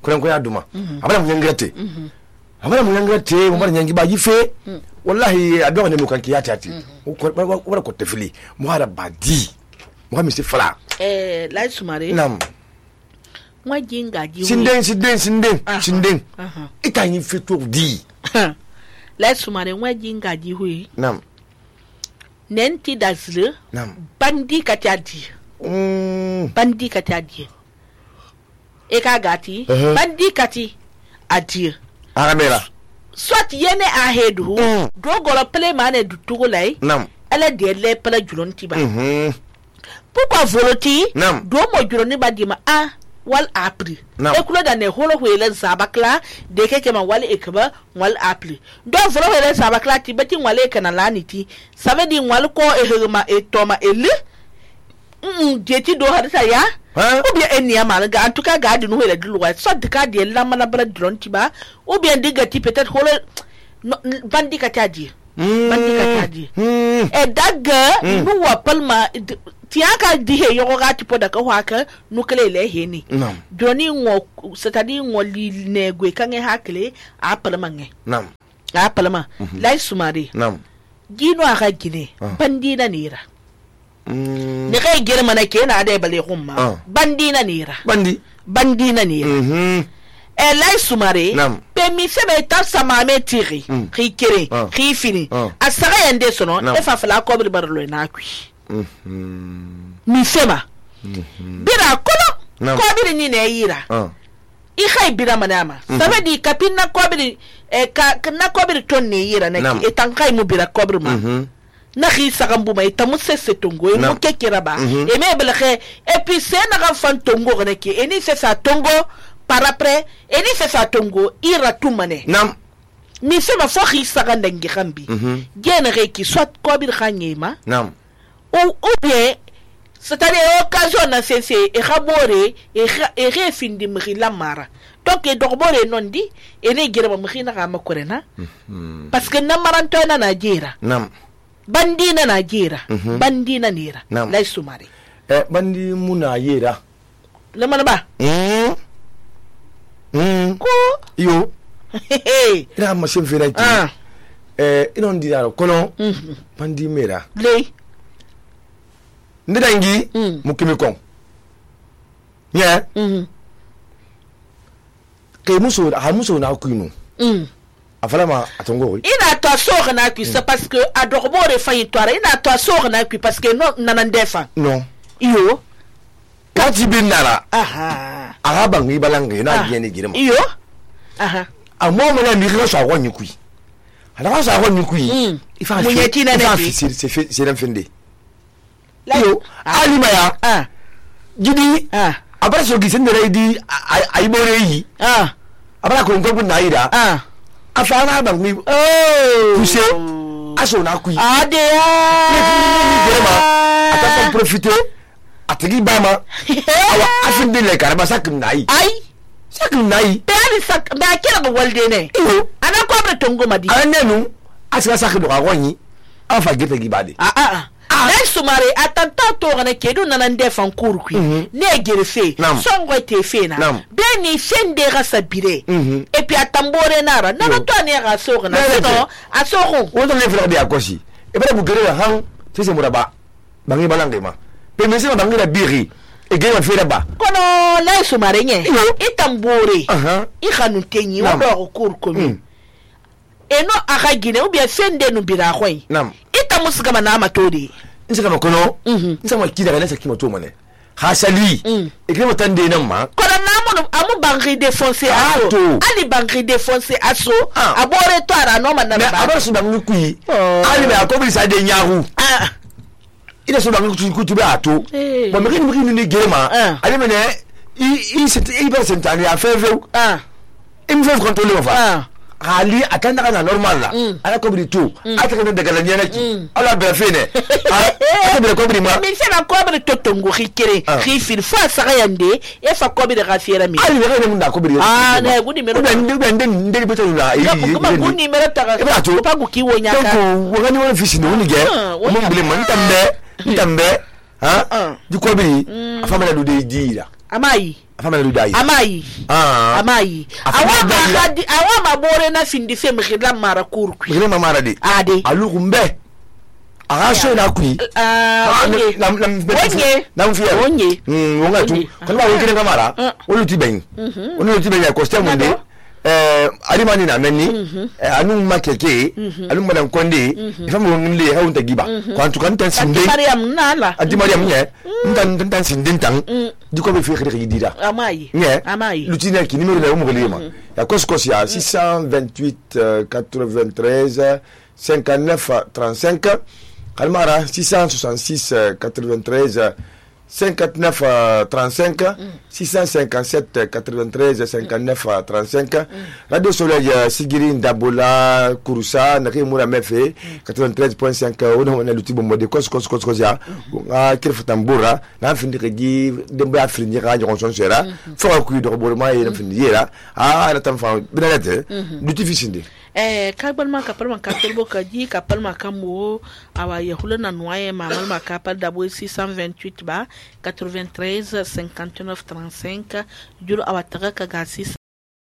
kurenkwe aduma abana munyangrate abana munyangrate mu bana nyangi ba yife wallahi adwa ne mukanki yatati wala ko tefili mu hada badi mu mi se fala lai sumare nam mwa jinga ji sinden itanyi feto di lai sumare mwa jinga ji hui nam nenti dasle nam bandi katadi bandi katadi e ka gati bandi kati adi aramela soit yene a hedu do golo play mane du tugulai nam ala de le pala julonti ba pourquoi voloti do mo juloni ba di ma wal apri e kulo da ne holo hwele zabakla de keke ma wal ekba wal apri do volo hwele zabakla ti beti wale kana laniti savedi wal ko ehema etoma ele jeti do hadisa ya ou bien enia malga en tout cas garde nous le loi soit de cas de la manabra dronti ba ou bien digati peut-être holo bandi katadi e daga nu wa palma tiaka di he yogo gati poda ka waka nukele le heni doni ngo c'est-à-dire ngo li negwe kange hakle a palma nge nam a palma lai sumari nam gino aka gine bandi na nira ne kai girma na ke na da bale humma bandi na nira bandi na nira lai sumari pe mi sebe ta sama me tiri ki kere ki fini asara yande sono e fa fala ko bi barlo na kwi mi sema bira kono ko biri ni ne yira I khay bira manama sabe di kapin na ko biri na ko biri ton ne yira na ki etan khay mu bira ko biri ma na khi sagambu ma itamu sese tongo e mo kekera ba e me belxe et puis c'est na ga fan tongo ne ki eni c'est ça tongo par après eni c'est ça tongo ira tumane nam mi sema fo khi saganda ngi khambi gene re ki soit ko biri khanyema nam ou bien c'est-à-dire occasion na cesse e khabore e refindi mri la mara donc e dogbore non di e ne gere ba mri na ga makorena parce que na maranto na najira nam bandi na najira bandi na nira la sumari bandi muna yera le manaba ko yo ina ma sem fera ti ina ndi daro kono bandi mera le ndidangi mukimi kon nya ke muso na kuinu afalama atongo ina to sore na ku c'est parce que adorbore fa yitwara ina to sore na ku parce que non nanandefa non iyo kati binara araba ngi balanga na yene girema iyo amo mona mi ko sa wonyi ku ala sa wonyi ku ifa munyeti na ne c'est l'enfende iyo alima ya gidi abara so gisen da idi aibore yi abara ko ngombu na ida afana ba mi kuse aso na ku ade ata profiter atigi bama awa afinde le karaba sakin nai sakin nai bani sak ba kira ba walde ne ana ko ba tongo madi anenu asira sakin do agonyi afa gete gibade na sumare atanta to gane kedu nanande fan kurku ne gerefe songo te fena beni sende ga sabire et puis atambore nara na to ne ga so gana no asoko wodo le frère de akosi e bele bugere han tese muraba bangi balange ma pe mesi bangi la biri e ge wa fera ba kono la sumare nye itambore I khanu tenyi wa do kurku mi eno aka gine ou bien sende no bira khoi ita musigama na matodi nsaka makono nsama kida na saki moto mane hasali ekremo tande nan ma kono na mo amu bangi défoncer aso ali bangi défoncer aso abore to ara no man na ba abore so bangi kuyi ali ba ko bi sa de nyahu ina so bangi ku tube ato bo mekini ni gema ali mene I sentani a feve im feve contrôler fa ali atanda kana normal la ala ko bi tu ataka daga la nyana ki ala be fene ala be ko bi ma mi se na ko bi totongo khikere khifir fa saka yande e fa ko bi de gafira mi ali be ko nda ko bi ne gudi mero ndé beto la ko gudi mero ta ko pa ku ki wonya ka ko woni woni fisi no ni ge mo bile man tambe di ko bi afama la do de dira amayi afama lu dai amayi awa ma bore na findi fe mkhidla mara kurku mkhidla mara de ade alu kumbe aga so na kui nam fiya wonga tu kana wa kire kamara olu tiben olu tiben ya costa munde alimani na menni anu makeke anu madan konde ifamu ngle ha unta giba kwantu kan tan sinde mariam nala adi mariam nye ntan sinde tan diko be fi khiri dira amayi lutina ki numéro la mo lema ya koskos ya 628 93 59 35 kalmara 666 93 59 35 657 93 59 35 Radio Soleil Sigiri Ndabola Kurusa nake mura mefe 93.5 ona luti bombo de kos ya kirfatambura na findi gi demba afrindi ga jonson sera fo ku do borma yena findi yera na tam fa binalete luti fisindi kabal ma kapal ma kapal boka ji kapal ma kamo awa yahula na noye mamal ma kapal dabo 628 ba 93 59 35 juro awa taga ka ga 6